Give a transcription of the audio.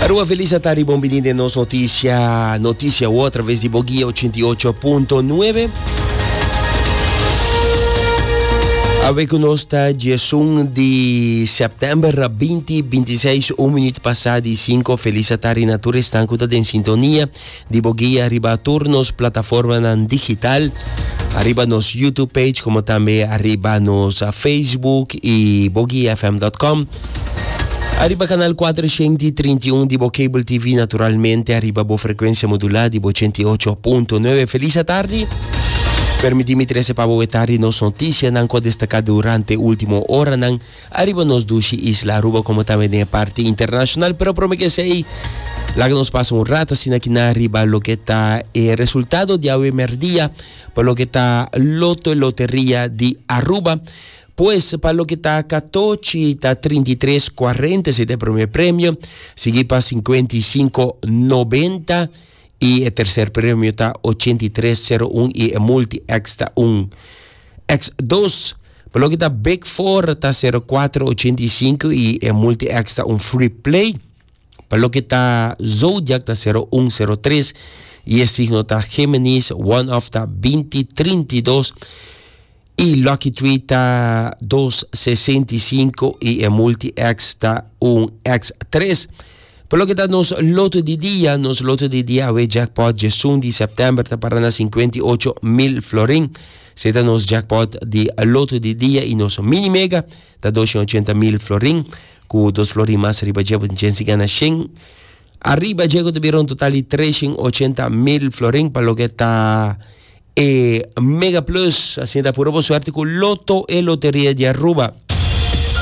Aruba feliz atardi bon bini den nos noticia noticia wo a traves di Boguia 88.9. Awe ku nos ta 11 di september 2026 un minuut pasa di 5 feliz atardi na tur esnan ku ta den sintonia di Boguia riba tur nos plataformanan digital ariba nos YouTube page como tambe ariba nos Facebook y boguiafm.com. Ariba canal 431 di bo cable TV naturalmente ariba bo frecuencia modulá di bo 88.9. Feliz tardi. Permití mi trece pa bo tardi nos noticianan cu a destaca durante último horanan Ariba nos dushi isla Aruba como tambe den e parti internacional, pero prome que esey laga nos pasa un rato asina aki na riba loke ta e resultado di awe merdia pa loke ta Loto Loteria di Aruba. Pues pa loke ta Catochi ta 33 40 esey ta e primer premio, sigui pa 55 90 y e tercer premio ta 83 01 y e multi X ta un X dos. Pa loke ta Big Four ta 04 85 y e multi X ta un free play. Pa loke ta Zodiac ta 01 03 y e signo ta Géminis, one off ta 20 32 y Lucky Three ta 2 65 y e multi X ta un X 3. Pa loke ta nos loto di dia, nos loto di dia awe jackpot djesun di september ta para na 58 mil florin. Se ta nos jackpot di loto di dia y nos mini mega ta 280 mil florin cu dos florin mas riba dje bo tin chens di gana shen. Ariba dje cu ta bira un total di 380 mil florin pa loke ta e mega plus. Asina ta puro bo suerte cu Lotto e loteria di Aruba.